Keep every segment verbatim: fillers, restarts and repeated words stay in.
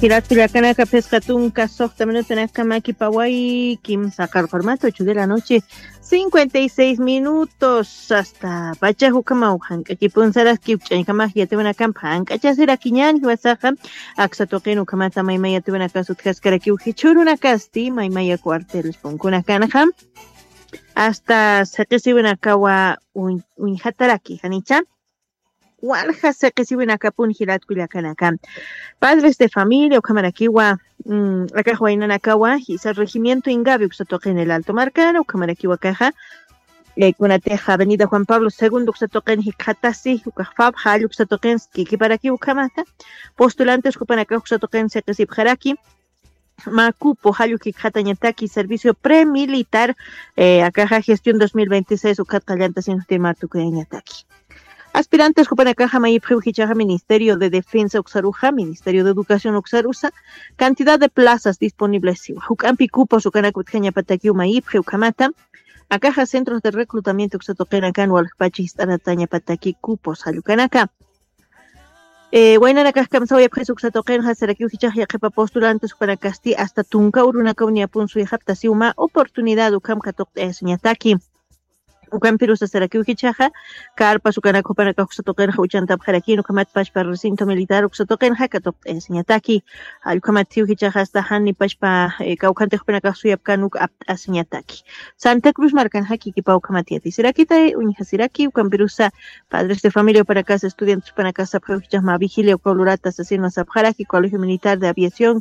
Jilat kullakanaka, phisqa tunka suxta minutanakama kipaway, kimsa qarqurmata, ocho de la noche, cincuenta y seis minutos. Hasta pacha jukama ujank'akipun saraski ukch'añkama yatiwanakampa jank'achasirakiñan jiwasaqa. Aksa tuqin ukamata maymaya yatiwanakas utjaskarakiw jichhurunakasti maymaya cuartel punkunakanxa. Hasta siqisiwinakawa uñ-, uñjataraki janicha. Walja siqisiwinakapun jilat kullakanaka. Padres de familia ukhamarakiwa, mm, akax waynanakawa jisa regimiento Ingavi uksa tuqin el Alto markana ukhamarakiwa akaxa, eh, kunatixa avenida Juan Pablo segundo uksa tuqin jikxatasi ukax fab jall uksa tuqin kikiparakiw ukhamata. Postulantes jupanakax uksa tuqin siqisipxaraki. Mä cupo jall jikxatañataki servicio premilitar, eh, akaxa gestión dos mil veintiséis ukat qallanta sinxti mä tukuyañataki. Aspirantes jupanakaxa mayipxiw jichaxa Ministerio de Defensa uksaruxa, Ministerio de Educación uksarusa, cantidad de plazas disponibles siwa. Juk'ampi cupos ukanak utjañapatakiw mayipxi ukhamata. Akaxa centros de reclutamiento uksa tuqinakan waljapachi jist'aratañapataki cupos jall ukanaka. Eh, waynanakax kamsawayapxis uksa tuqinxa sarakiw jichax yaqhipa postulantes jupanakasti hasta tunka urunakaw niyapun suyxaptasiw mä oportunidad ukham katuqt'ayasiñataki. Ukampirusa sarakiw jichaxa carpas ukanak jupanakax uksa tuqinxa uchantapxarakïn ukhamat pachpa recinto militar uksa tuqinxa katuqt'ayasiñataki. Jall ukhamat siw jichaxa hasta jani pachpa, eh, kawkhantix jupanakax suyapkän uk apt'asiñataki. Santa Cruz markanxa kikipaw ukhamat yatisirakitay uñjasiraki ukampirusa padres de familia jupanakas, estudiantes jupanakas sapxiw jichax mä vigilia ukaw lurata sasinwa sapxaraki Colegio Militar de Aviación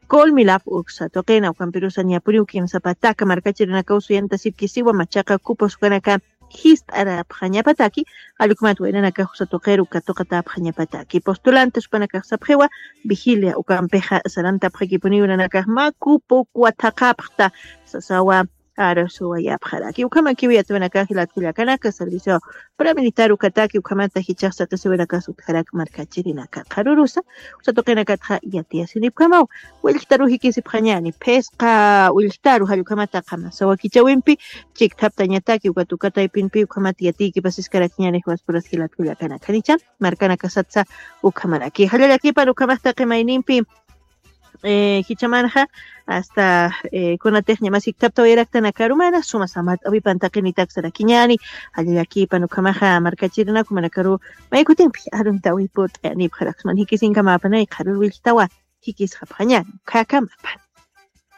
Colmilap uksa tuqina. Ukampirusa niyapuniw kimsa pataka markachirinakaw suyantasipkisiwa machaqa cupos ukanaka jist'arapxañapataki. Jall ukhamat waynanakax uksa tuqiru katuqatapxañapataki. Postulantes jupanakax sapxiwa vigilia ukampixa sarantapxakipuniw nanakax mä cupo kuwa thaqhapxta sasawa. Arasuwayapxaraki ukhamakiw yatiwanakax jilat kullakanaka servicio paramilitar ukataki ukhamata jichax siqisiwinakas utjarak markachirinaka qharurusa. Uksa tuqinakatxa yatiyasinipkamaw. Willktaru jikisipxañäni phisqa willktaru jall ukhamata qamasawa kichawimpi chikthaptañataki ukat uka taypinpi ukhamat yatiykipasiskarakiñäni jiwaspuras jilat kullakanaka janicha. Markanakasatsa ukhamaraki jallallakipan ukhamax taqi maynimpi. Eh, jichamanxa hasta, eh, kunatix ñamas jikthaptawayaraktanaka arumana suma samat awipan taqinitak sarakiñäni. Jallallakipan ukhamaxa markachirinaka jumanakaru maykutimpi aruntawi put'ayanipxaraksman jikisinkamäpanay qharur willktawa jikisxapxañäni ukhakamapa.